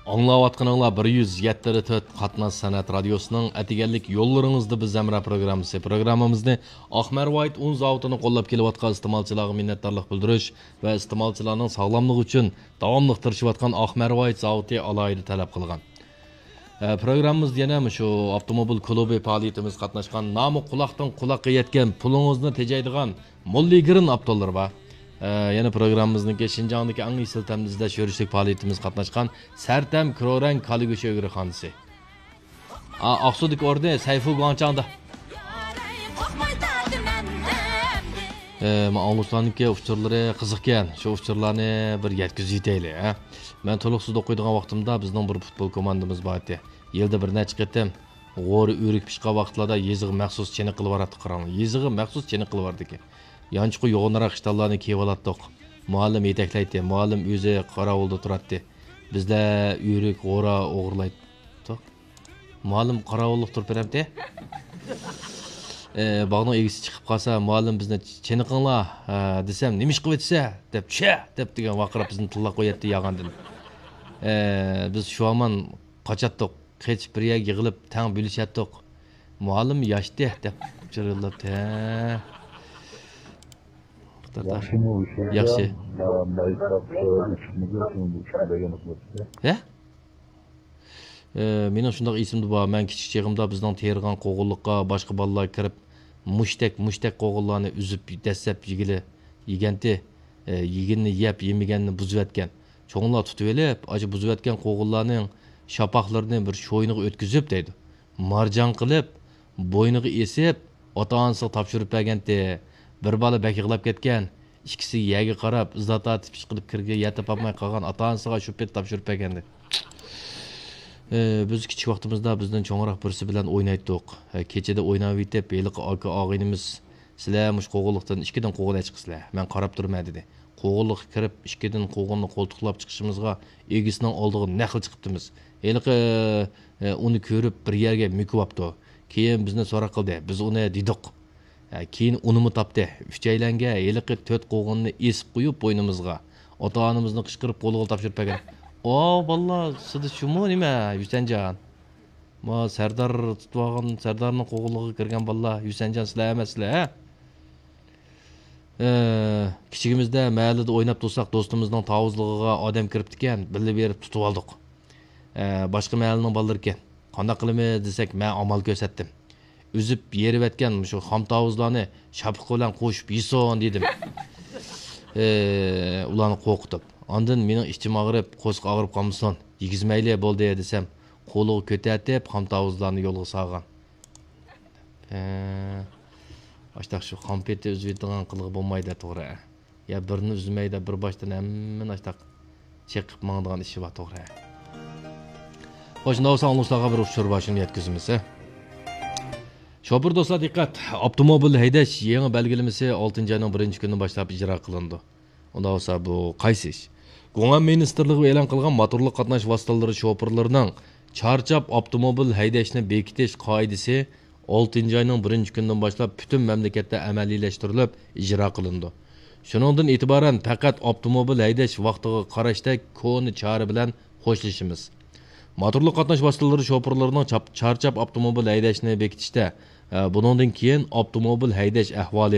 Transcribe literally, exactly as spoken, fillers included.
ئاڭلاۋاتقىنىڭلار بىر يۈز يەتتە تۆت قاتناش سەنئەت رادىيوسىنىڭ ئەتىگەنلىك يوللىرىڭىزدا بىز ھەمراھ پروگراممىسى. پروگراممىمىزنى ئاق مەرۋايىت ئۇن زاۋۇتىنى قوللاپ كېلىۋاتقان ئىستېمالچىلارغا مىننەتدارلىق بىلدۈرۈش ۋە ئىستېمالچىلارنىڭ ساغلاملىقى ئۈچۈن داۋاملىق تىرىشىۋاتقان ئاق مەرۋايىت زاۋۇتى ئالاھىدە تەلەپ قىلغان. ئە، پروگراممىمىزدا يەنە مۇشۇ ئاپتوموبىل كۇلۇبى پائالىيىتىمىزگە قاتناشقان، نامى قۇلاقتىن قۇلاققا يەتكەن، پۇلىڭىزنى تېجەيدىغان موللىگىرىن ئاپتورلىرى بار. ئە، يەنە پروگراممىمىزنىڭكى شىنجاڭدىكى ئەڭ ئېسىل تەمنى ئىزدەش يۈرۈشلۈك پائالىيىتىمىزگە قاتناشقان سەرتەم كرورەڭ كالا گۆشى ئۆگرىخانىسى. ئا، ئاقسۇدىكى ئورنى سەيفۇ گۇاڭچاڭدا. ئە، مانا ئاڭلىغۇچىلارنىڭكى ئۇچۇرلىرى قىزىقكەن. شۇ ئۇچۇرلارنى بىر يەتكۈزۈۋېتەيلى، ھە. مەن تولۇقسىز ئوقۇيدىغان ۋاقتىمدا بىزنىڭ بىر پۇتبول كوماندىمىز بار ئىدى. يىلدا بىر نەچچە قېتىم غورا ئۆرۈك پىشقان ۋاقىتلاردا يېزىغا مەخسۇس چېنىقىپ باراتتۇق، قاراڭلار. يېزىغا مەخسۇس چېنىقىپ بارىدىكەن. يانچۇقى يوغىنراق ئىشتانلارنى كىيىۋالاتتۇق. مۇئەللىم يېتەكلەيتتى، مۇئەللىم ئۆزى قاراۋۇلدا تۇراتتى. بىزلەر ئۆرۈك، غورا ئوغرىلايتتۇق. مۇئەللىم قاراۋۇللۇق تۇرۇپ بېرەمتى. ئى، باغنىڭ ئىگىسى چىقىپ قالسا، مۇئەللىم بىزنى «چېنىقىڭلار» دېسەم، «نېمە ئىش قىلىۋېتىسە؟» دەپ، «چە!» دەپ دېگەن ۋارقىراپ بىزنى تىللاپ قوياتتى ياغاندىن. ئى، بىز شۇ ھامان قاچاتتۇق. قېچىپ بىر يەرگە يىغىلىپ تەڭ بۆلۈشەتتۇق. مۇئەللىم ياشتى دەپ چىرىلداپ، ھە. ياخشىمۇ ئۇ ياخشى. ھە؟ ئى، مېنىڭ شۇنداق ئېسىمدە بار، مەن كىچىك چېغىمدا بىزنىڭ تېرىغان قوغۇنلۇققا باشقا بالىلار كىرىپ، مۇشتەك، مۇشتەك قوغۇنلارنى ئۈزۈپ دەسسەپ يېگىلى، يېگەنتى، ئى، يېگىنىنى يەپ، يېمىگەننى بۇزۇۋەتكەن. چوڭلار تۇتۇۋېلىپ، ئاشۇ بۇزۇۋەتكەن قوغۇنلارنىڭ شاپاقلىرىنى بىر شوينىغا ئۆتكۈزۈپ دەيدۇ. مارجان قىلىپ، بوينىغا ئېسىپ، ئاتا-ئانىسىغا تاپشۇرۇپ بەرگەنتى. بىر بالا بەك يىغلاپ كەتكەن. ئىككىسى يەرگە قاراپ، ئىزا تارتىپ، ئىشقىلىپ كىرگە يەر تاپالماي قالغان، ئاتا-ئانىسىغا شۇ پېتى تاپشۇرۇپ بەرگەنتى. ئى، بىز كىچىك ۋاقتىمىزدا بىزدىن چوڭراق بىرسى بىلەن ئوينايتتۇق. ئە، كېچىدە ئويناۋېتىپ، ھېلىقى ئاكا ئاغىنىمىز، «سىلەر مۇشۇ قوغۇنلۇقتىن ئىككىدىن قوغۇن ئەچىقىسىلەر، مەن قاراپ تۇرىمەن» دېدى. قوغۇنلۇققا كىرىپ، ئىككىدىن قوغۇننى قولتۇقلاپ چىقىشىمىزغا، ئىگىسىنىڭ ئالدىغا نەقلا چىقىپتىمىز. ھېلىقى، ئى، ئۇنى كۆرۈپ، بىر يەرگە مۆكۈۋاپتۇ. كېيىن بىزنى سوراق قىلدى، بىز ئۇنى دېدۇق. ھە، كېيىن ئۇنىمۇ تاپتى. ئۈچەيلەنگە ھېلىقى تۆت قوغۇننى ئېسىپ قويۇپ بوينىمىزغا، ئاتا-ئانىمىزنى قىچقىرىپ قولىغا تاپشۇرۇپ بەرگەن. «ئاۋۇ بالىلار، سىلىدە شۇمۇ نېمە، ھۈسەنجان؟ ما سەردار تۇتۇۋالغان، سەردارنىڭ قوغۇنلۇقىغا كىرگەن بالىلار، ھۈسەنجان سىلەر ئەمەسسىلەر، ھە؟» ئى، كىچىكىمىزدە مەھەللىدە ئويناپ تۇرساق، دوستىمىزنىڭ تاۋۇزلۇقىغا ئادەم كىرىپتىكەن، بىللە بېرىپ تۇتۇۋالدۇق. ئە، باشقا مەھەللىنىڭ بالىلىرىكەن. قانداق قىلىمىز دېسەك، مەن ئامال كۆرسەتتىم. ئۈزۈپ يېرىۋەتكەن مۇشۇ خام تاۋۇزلارنى شاپىقى بىلەن قوشۇپ يېسۇن دېدىم. ئى، ئۇلارنى قورقۇتۇپ. ئاندىن مېنىڭ ئىچىم ئاغرىپ، قورسىقى ئاغرىپ قالمىسۇن، يېگۈزمەيلى بولدى دېسەم، قولىغا كۆتەرتىپ خام تاۋۇزلارنى يولغا سالغان. ئى، ئاشتاق شۇ خام پېتى ئۈزۈۋېتىدىغان قىلغا بولمايدۇ، توغرا. يا بىرنى ئۈزمەيدە، بىر باشتىن ھەممىنى ئاشتاق چېقىپ ماڭىدىغان ئىشى بار، توغرا. خوش، شۇنداق بولسا ئاڭلىغۇچىلارغا بىر ئۇچۇر بار، شۇنى يەتكۈزىمىز، ھە. شوپۇر دوستلار دىققەت! ئاپتوموبىل ھەيدەش يېڭى بەلگىلىمىسى ئالتىنچى ئاينىڭ بىرىنچى كۈنىدىن باشلاپ ئىجرا قىلىنىدۇ. ئۇنداق بولسا بۇ قايسى ئىش؟ گۇڭئەن مىنىستىرلىقى ئېلان قىلغان موتورلۇق قاتناش ۋاسىتىلىرى شوپۇرلىرىنىڭ چارچاپ ئاپتوموبىل ھەيدەشنى بېكىتىش قائىدىسى ئالتىنچى ئاينىڭ بىرىنچى كۈنىدىن باشلاپ پۈتۈن مەملىكەتتە ئەمەلىيلەشتۈرۈلۈپ ئىجرا قىلىنىدۇ. شۇنىڭدىن ئېتىبارەن پەقەت ئاپتوموبىل ھەيدەش ۋاقتىغا قاراشتەك كونا چارە بىلەن خوشلىشىمىز. موتورلۇق قاتناش ۋاسىتىلىرى شوپۇرلىرىنىڭ چاپ-، چارچاپ ئاپتوموبىل ھەيدەشنى بېكىتىشتە، ئە، بۇنىڭدىن كېيىن ئاپتوموبىل ھەيدەش ئەھۋالى،